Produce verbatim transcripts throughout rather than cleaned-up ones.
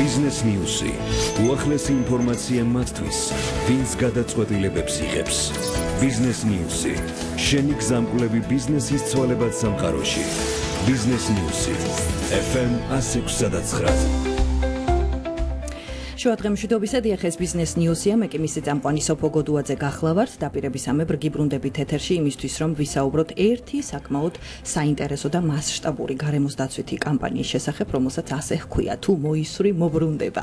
Business News-ი. უახლესი ინფორმაცია მათთვის, ვინც გადაწყვეტილებებს იღებს. Business News-ი. შენი გზამკვლევი ბიზნესის ცვალებად სამყაროში. Business News-ი. ეფ ემ one oh six point nine. შუადღემში დობისა დიახეს Business News-ია, მე კი მისი წამყვანი სოფო გოდუაძე გახლავართ, დაპირებისამებრ გიბრუნდებით ეთერში იმისთვის, რომ ვისაუბროთ ერთი საკმაოდ საინტერესო და მასშტაბური გარემოს დაცვითი კამპანიის შესახებ, რომელსაც ასე ჰქვია, თუ მოისური მობრუნდება.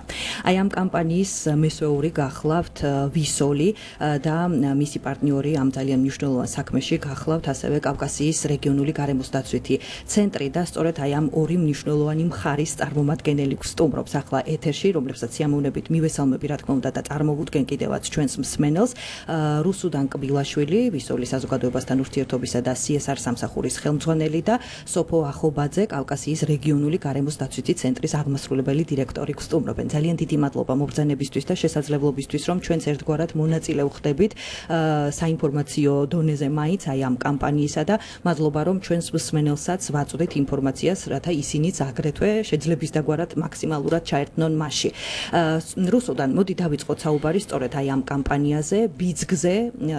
Აი ამ კამპანიის მესვეური გახლავთ ვისოლი და მისი პარტნიორი ამ ძალიან მნიშვნელოვან საქმეში გახლავთ ასევე კავკასიის რეგიონული გარემოს დაცვითი ცენტრი და სწორედ აი ამ ორი მნიშვნელოვანი მხარის წარმომადგენელი გვსტუმრობს ახლა ეთერში, რომლებსაც სიამოვნებით მივესალმები, რა თქმა უნდა და წარმოვუდგენ კიდევაც ჩვენს მსმენელს. რუსუდან კბილაშვილი, ვისოლის საზოგადოებასთან ურთიერთობისა და სი ეს არ სამსახურის ხელმძღვანელი და სოფო ახობაძე, კავკასიის რეგიონული გარემოს დაცვითი ცენტრის აღმასრულებელი დირექტორი გვსტუმრობენ. ძალიან დიდი მადლობა მობრძანებისთვის და შესაძლებლობისთვის, რომ ჩვენც ერთგვარად მონაწილე ვხდებით საინფორმაციო დონეზე მაინც აი ამ კამპანიისა და მადლობა, რომ ჩვენს მსმენელსაც ვაწვდით ინფორმაციას, რათა ისინიც აგრეთვე შეძლების დაგვარად მაქსიმალურად ჩაერთნონ მასში. რუსუდან მოდი დავიწყოთ საუბარი სწორედ აი ამ კამპანიაზე, ბიძგზე,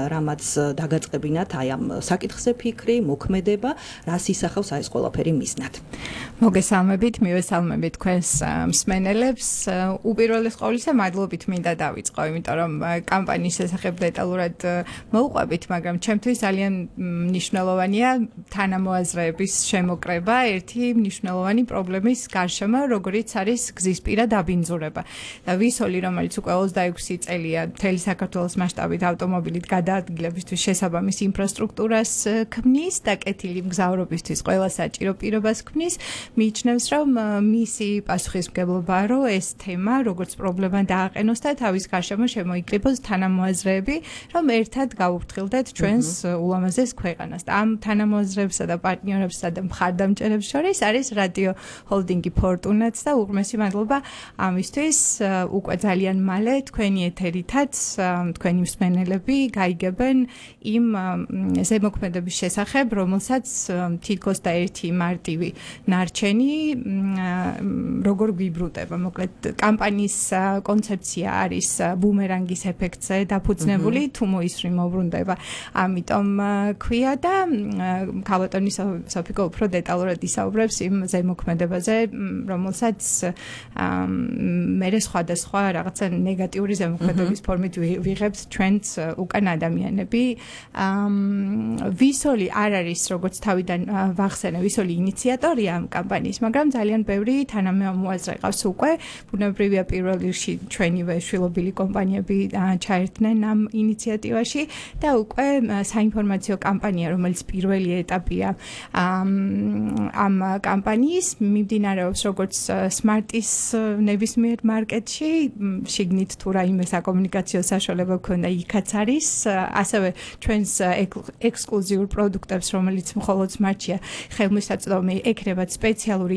რამაც დაგაწყებინათ აი ამ საკითხზე ფიქრი, მოქმედება, რას ისახავს აი ეს ყველაფერი მიზნად. მოგესალმებით, მივესალმებით თქვენს მსმენელებს. უპირველეს ყოვლისა, მადლობით მინდა დავიწყო, იმიტომ რომ კამპანიის შესახებ დეტალურად მოვყვებით, მაგრამ ჩემთვის ძალიან მნიშვნელოვანია თანამოაზრეების შემოკრება ერთი მნიშვნელოვანი პრობლემის გარშემო, როგორიც არის გზისპირა დაბინძურება. და ვისოლი, რომელიც უკვე ოცდაექვსი წელია მთელი საქართველოს მასშტაბით ავტომობილით გადაადგილებისთვის შესაბამის ინფრასტრუქტურას ქმნის და კეთილი მგზავრობისთვის ყველა საჭირო პირობას ქმნის, მიიჩნევს, რომ მისი პასუხისმგებლობაა, რომ ეს თემა როგორც პრობლემა დააყენოს და თავის გარშემო შემოიკრიბოს თანამოაზრეები, რომ ერთად გავუფრთხილდეთ ჩვენს ულამაზეს ქვეყანას. და ამ თანამოაზრეებსა და პარტნიორებსა და მხარდამჭერებს შორის არის რადიო ჰოლდინგი ფორტუნაც და უღრმესი მადლობა ამისთვის. უკვე ძალიან მალე თქვენი ეთერითაც თქვენი მსმენელები გაიგებენ იმ ზემოქმედების შესახებ, რომელსაც თითქოს და ერთი მარტივი ნარჩენი როგორ გვიბრუნდება. მოკლედ კამპანიის კონცეფცია არის ბუმერანგის ეფექტზე დაფუძნებული, თუ მოისური მოbrunდება. ამიტომ ქვია და ქალბატონი სოფიკო უფრო დეტალურად ისაუბრებს იმ ზემოქმედებაზე, რომელსაც მე სხვადასხვა რაღაცა ნეგატიური ზემოქმედების ფორმით ვიღებთ ჩვენც უკან ადამიანები. ვისოლი არ არის, როგორც თავიდან ვახსენე, ვისოლი ინიციატორია ამ კამპანიის, მაგრამ ძალიან ბევრი თანამოაზრე ყავს უკვე. ბუნებრივია პირველ რიგში ჩვენივე შვილობილი კომპანიები ჩაერთნენ ამ ინიციატივაში და უკვე საინფორმაციო კამპანია, რომელიც პირველი ეტაპია ამ კამპანიის, მიმდინარეობს როგორც სმარტის ნებისმიერ მარკეტში, შიგნით თუ რაიმე საკომუნიკაციო საშუალება გქონდა, იქაც არის, ასევე ჩვენს ექსკლუზიურ პროდუქტებს, რომელიც მხოლოდ სმარტშია ხელმისაწვდომი, ექნებათ სპეციალური